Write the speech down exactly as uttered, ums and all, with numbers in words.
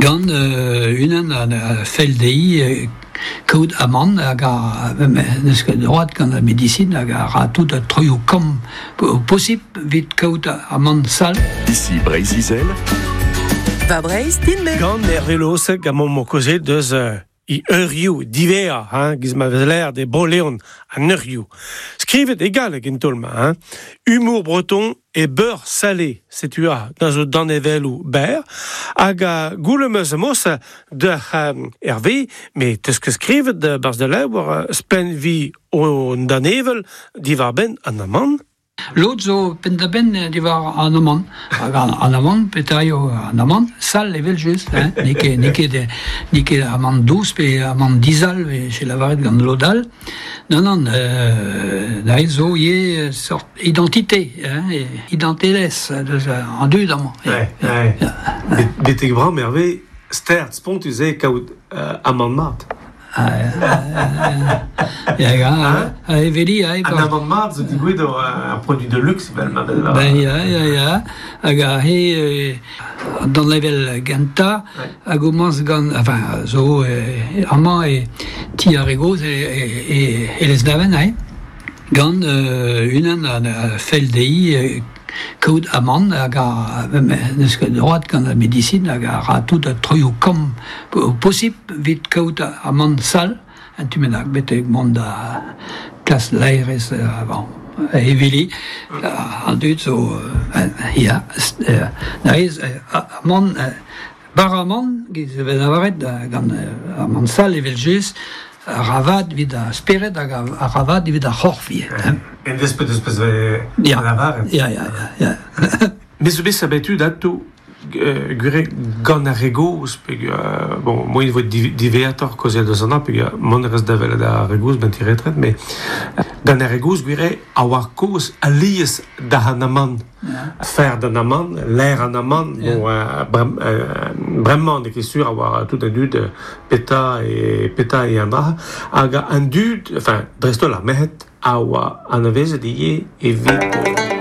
Gant euh, unan a, a fell dezhi euh, kaout amann hag a n'eus ket droad gant ar medisin hag a ra tout a troioù kamm posibl evit kaout amann sall. Ici Breizh-Izel. Va Breizh, din-me. Gant Hervé Losec gant mo kozet deus euh, i eurioù divea, hein, giz ma vez l'air de Bro-Leon an eurioù. Skrivet e galleg en tolma, hein. Humour breton et beurre salé, setu a, dans zo danevelloù ber, hag a goulem eus mos de euh, Hervé, me teus ket skrivet de barz de levr euh, spen vi o danevel diwar ben an amann. Lod zo penn-da-benn diwar an amann. Hag an, an amann, petra eo an amann, sall evel just, hein. N'eo ket, n'eo ket, n'eo ket amann dous pe amann dizal, e che lavaret gant lod all. Non, non, euh, da zo ivez sort identité, hein, identelezh deus an dud amañ. Ouais, ouais. Betek bram, Hervé, stert spontus eo kaout euh, amann mat. Ya, ya, eveli, ha, An amann mat zo digouet o un produit de luxe, vel ma vel. Ben ya, ya, ya. Hag a he, euh, d'an level genta, hag o mans gant, enfin, zo, euh, amañ e ti ar re gozh e, e, e, e Lesneven, hein. Gant euh, unan a, a fell dezhi euh, kaout amann hag a n'eus ket droad gant ar medisin hag a ra tout a troioù kamm posibl evit kaout amann sall an tu bennak betek mont da klas laerez euh, bon, eveli an dud zo euh, ya euh, na ez amann bar amann giz e vez lavaret gant amann sall evel just a ravad evit ar spered hag a ravad evit ar c'horf ivez, hein. En despet eus pezh ve Ya. lavaret. Ya, ya, ya, ya. Me zo bet sabetu dato euh, gure gant ar re gozh, pe euh, bon, moi il vo diveator kozel deus an pe mont rez da vel da re gozh ben ti retret, mais gant ar re gozh gure a war kozh alies da an amann. Fer d'an amann, l'air an amann, bon, euh, brem, euh, bremañ n'eo ket sur a war tout an dud peta e peta e an dra, hag an dud, enfin, dreist-holl ar merc'hed, a oa anavezet ivez evit